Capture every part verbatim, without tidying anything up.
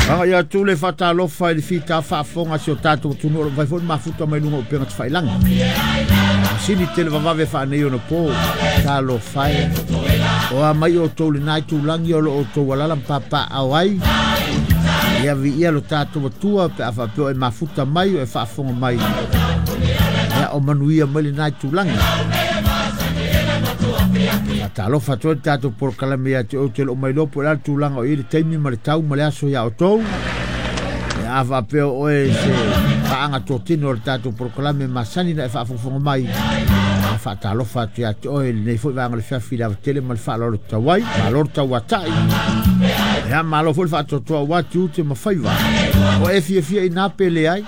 Aga ia tu le faatalofa i le fita faafofoga si o tatou atunuu o lo o mafai foi ona mafuta mai luga o upega tafailagi. Masini tele vavave faanei ona po, talofa e. O a mai outou lena itulagi o lo o outou alala ma papaao ai. Ia viia lo tatou atua pe a faapea o e mafuta mai o e faafofoga mai. Ia o manuia mai lena itulagi. Faatalofa atu ai le tatou polokalame ia te ou te loo mai loa po o le a le tulaga o i ai le taimi ma le tau ma le aso ia outou. Ia a faapea o oe se paaga totino o le tatou polokalame masani na e faafogafoga mai. Ia faatalofa atu ia te oe lenei foi vaega o le fiafi i le avatele ma le faaaloalo tatau ai. Malo le tauatai. Ia malo foi le faatoatoa aua tiute ma faiva. O e fiafia i na pe leai.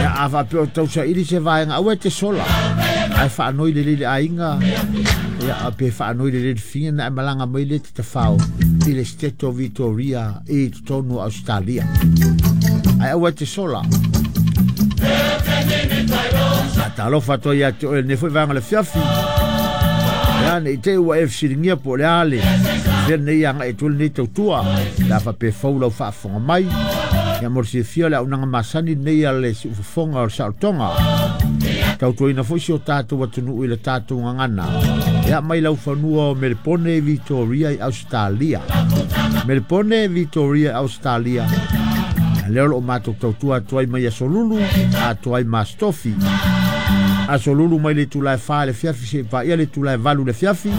Ia a faapea o tausaili se vaega aua e te sola. Ae faanoi lelei le aiga, ia pe faanoi lelei le figa na e malaga mai le te tafao i le State of Victoria i totonu o Australia. Ae aua e te sola. Faatalofa atu ai ia te oe lenei foi vaega o le fiafi. Ia ne i te i ua e fesiligia po o le a le fea lenei agai atu ai lenei tautua. Le a faapea fou lau faafofoga mai. Ia mo le silafia o le auaunaga masani lenei a le siufofoga o le saolotoga. Tautuaina foi si o tatou atunuu i le tatou gagana. Ia mai laufanua o Melepone, Victoria i Australia. Melepone, Victoria, Australia. Lea o lo o matou tautua atu ai mai aso Lulu, atoa ai ma aso Tofi. Aso Lulu mai le itula e fa i le afiafi seia paia le itula e valu i le afiafi.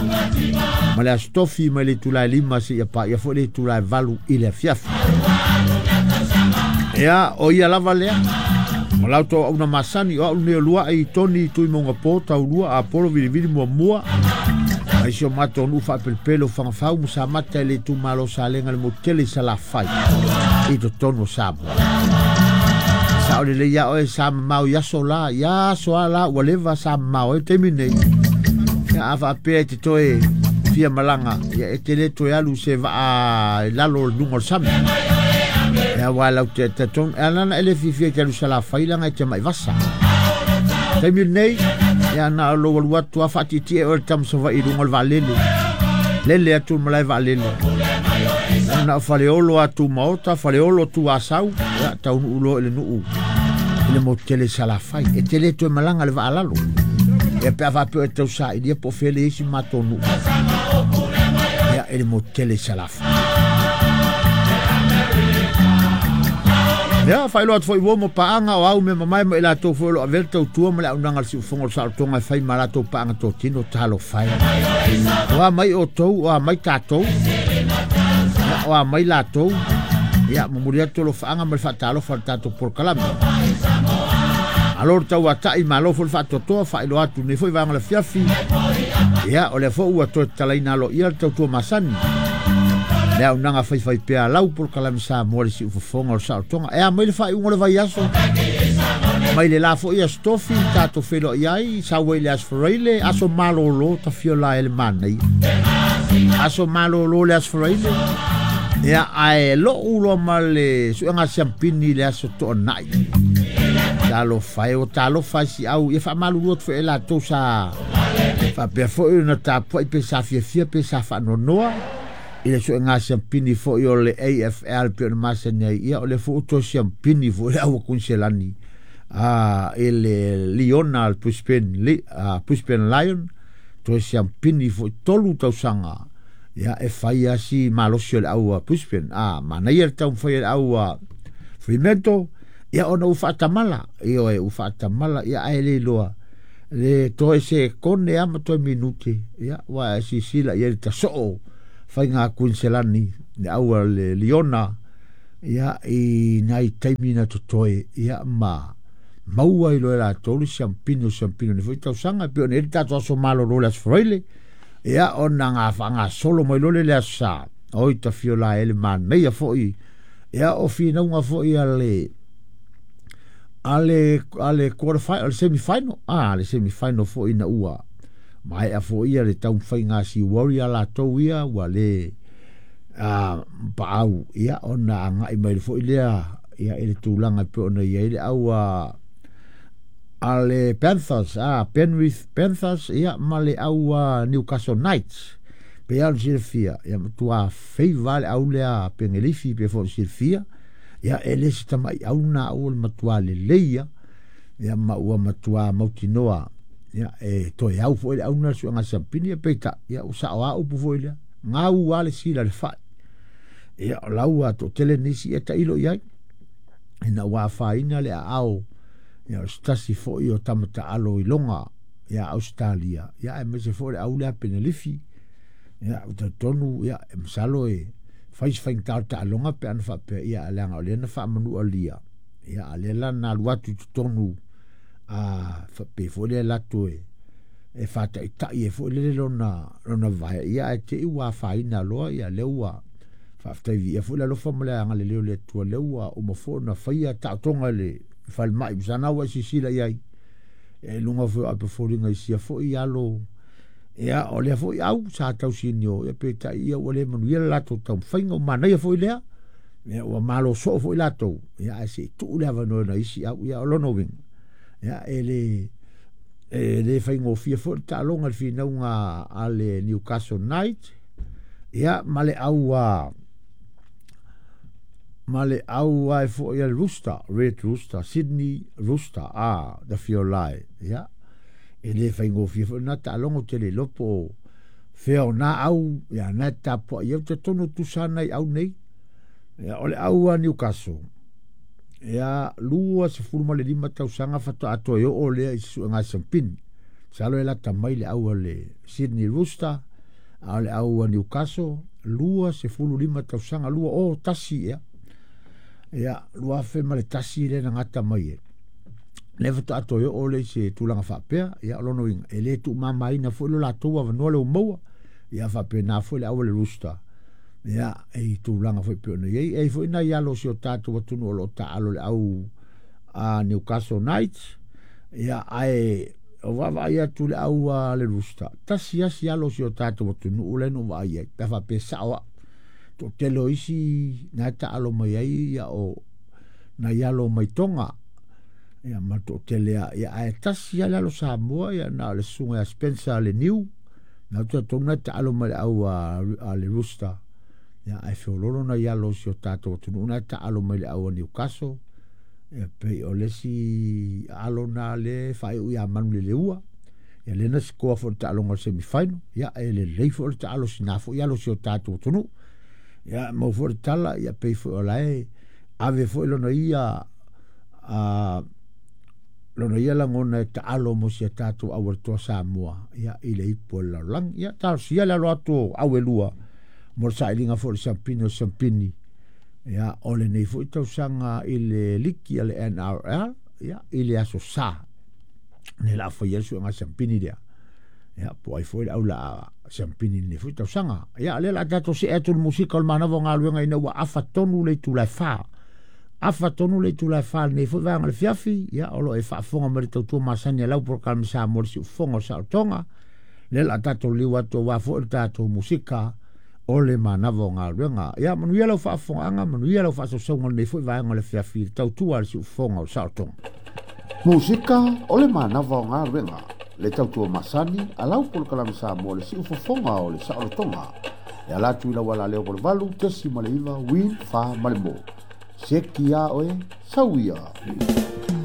Ma le aso Tofi mai le itula e lima seia paia foi le itula e valu i le afiafi. Ia, o ia lava lea. O la outou auauna masani, o au lenei o Luai, Toni, Tuimauga Po, Taulua, Apolo, Vilivili, Muamua. Mai si o matou nuu faapelepele o Fagafau ma Samata i le itumalo o Salega le motu tele i Salafai i totonu o Samoa. Sao lelei ia oe sa mamao i aso la, ia aso a la ua leva sa mamao ai le taimi nei. Ia a faapea e te toe fia malaga, ia e te le toe alu se vaa i lalo o le luga o le sami. Ia aua lau te talitonu, e ala ona e le fiafia i te alu Salafai leaga e te mai vasa. Taimi lenei, ia na o lou alu atu a faatietie oe le tama Savaii i luga o le vaalele. Lele atu le malae vaalele. Ia na o Faleolo atu Maota, Faleolo tu Asau, ia taunuu loa i le nuu i le motu tele i Salafai. E te le toe malaga le vaa lalo. Ia pe a faapea o e tausailia po o fea le i ai si matou nuu. Ia i le motu tele i Salafai. Ia, faailoa atu foi ua ma paaga o au mea mamae ma i latou foi o lo o avea le tautua ma le auaunaga a le siufofoga o le saolotoga e fai ma latou paaga totino, talofa e. O a mai outou, o a mai tatou, ia, o a mai latou, ia, momoli atu alofaaga ma le faatalofa a le tatou polokalame. Malo le tauatai, malo foi le faatoatoa, faailoa atu nei foi vaega o le afiafi. Ia, o lea foi ua toe tatalaina aloaia le tautua masani. Le auaunaga faifaipea a lau polokalame Samoa le siufofoga o le saolotoga. E a mai le faaiuga o le vaiaso? Mai le la foi aso Tofi, tatou feiloai ai, sau ai le aso Faraile, aso malolo, tafio la e le manaia. Aso malolo le aso Faraile. Ia, ae lou loa ma le suega siampini le aso Toonai. Talofa e, o talofa e si au, ia faamalulu atu foi e latou sa faapea foi ona tapuai pe sa fiafia pe sa faanoanoa i le suega siampini foi o le A F L pe ona masani ai. Ia, o le foi ua toe siampini foi le au a Kuiniselani, a, i le Liona, le Brisbane, li, a, Brisbane Lion, toe siampini foi tolu tausaga. Ia, e fai lava si malosi o le au a Brisbane. A, manaia le taumafai o le au a Fremantle, ia ona ua faatamala. Ioe, ua faatamala, ia ae le iloa. Le toe se kone lava ma toe minute, ia, ua e sisila i ai le tasoo faiga a Kuiniselani, le au a le Liona, ia, i nai taimi na totoe, ia, ma maua i loa e latou le siampini o siampini o nei foi tausaga, e pei ona i ai le tatou aso malolo le aso Faraile, ia, ona ga faagasolo mai loa le le aso Sa, oi tafio la e le manaia foi, ia, o finauga foi a le a le, a le quarter final, le semi final, ah, le semi final foi ina ua maea foi ia le taumafaiga a si Warrior latou ia ua le, a, paau, ia, ona agai mai foi lea, ia, i le tulaga e pei ona i ai le au a, a le Panthers, a, Penrith Panthers, ia, ma le au a Newcastle Knights. Pe au silafia ia matua feiva le au lea Pengelifi pe foi silafia ia e le se tama'i au na au o le matuā lelei ia ia ma ua matuā mautinoa ia e toe au fo'i le auna le su'ega siampini ia peita'i ia ua sa'o a upu foi lea gau a le sila le fa'i ia o lau to'atele nisi e ta'ilo i ai ina ua afaina le aao ia o se tasi fo'i o tama ta'alo i loga ia Ausetalia ia aemaise foi le au lea Penelifi ia ua talitonu ia e masalo e fai se faigata o le taaloga pe ana faapea ia leaga o lea na faamanualia ia a lea la na alu atu i totonu a faapea foi lea latou e e faata'ita'i ai foi lele lona lona vae ia ae te'i ua afaina loa ia lea ua faafetai viia foi le alofa ma le agalelei o le Atua lea ua uma foi ona faia taotoga i le falemai masana ua e silasila i ai e luga foi o ape foliga i sia foi alo ia o lea foi au sa tausinio ia peitai ia ua le manuia le latou taumafaiga ua manaia foi lea ia ua malo soo foi latou ia ae se i tuu le avanoa na isi au ia o lona uiga ia e le e le faigofie foi le taaloga le finauga a le Newcastle Knight ia ma le au a ma le au ai foi a le Rooster Red Rooster Sydney Rooster a the Fiolai ia e le faigofie foi na taaloga ou te le iloa po o fea o na au ia na e tapua'i ai ou te talitonu tusa na i au nei ia o le au a Newcastle ia lua sefulu ma le lima tausaga faatoa toe oo lea i se suega siampini masalo e lata mai le au a le Sydney Rooster a o le au a Newcastle lua sefulu lima tausaga lua o tasi ia ia lua afe ma le tasi lea na gata mai ai lea faatoa toe oo lea i se tulaga faapea ia o lona uiga e le tuumamaina foi lo latou avanoa lea ua maua ia faapena foi le au a le Rooster ia e tulaga foi pei ona i ai e ai foi nai alo o si o tatou atunuu o lo o taalo le au a Newcastle Knights ia ae o vaavaai atu le au a le Rooster tasi asi alo o si o tatou atunuu lea na ou vaai ai pe faapea sa'o a'u to'atele o isi na e taalo mai ai ia o nai alo mai Toga ia ma le to'atele a ia ae tasi a le alo Samoa ia na o le susuga ia Spencer le Niu na ou talitonu na e taalo mai le au a, a le Rooster ia ae feololo nai alo o si o tatou atunuu na e taalo mai le au a Newcastle ia pei o le isi alo na le faaiu ia Manu le Leua ia lea na sikoa foi le taaloga o le semifinal ia e lelei foi le taalo sina foi alo o si o tatou atunuu ia mau foi le tala ia pei foi o lae ave foi lona ia a lona ia lagona e taalo mo si a tatou aualetoa Samoa ia i le ipu o le lalolagi ia talosia le alo atu o au e lua mo le sailiga foi o le siampini o siampini ia o lenei foi tausaga i le liki a le N R L ia i le aso Sa ne la faia le suega siampini lea ia po ai foi le au la siampini lenei foi tausaga ia lea la tatou see atu le musika o le manava o galuega ina ua afa tonu le itula e fa afa tonu le itula e fa lenei foi vaega o le fiafi ia o lo o e faafofoga mai le tautua masani a lau polokalame Samoa le siufofoga o le saolotoga lea la tatou liu atu aua foi le tatou musika o le manava o galuega ia manuia lau faafofogaaga manuia lau faasausauga lenei foi vaega o le fiafi le tautua a le siufofoga o le saolotoga. Musika o le manava o galuega le tautua masani a lau polokalame Samoa le siufofoga o le saolotoga e ala atu i lau ala leo valu tesi ma le iva win fa ma le mo. Seki a oe, sauia.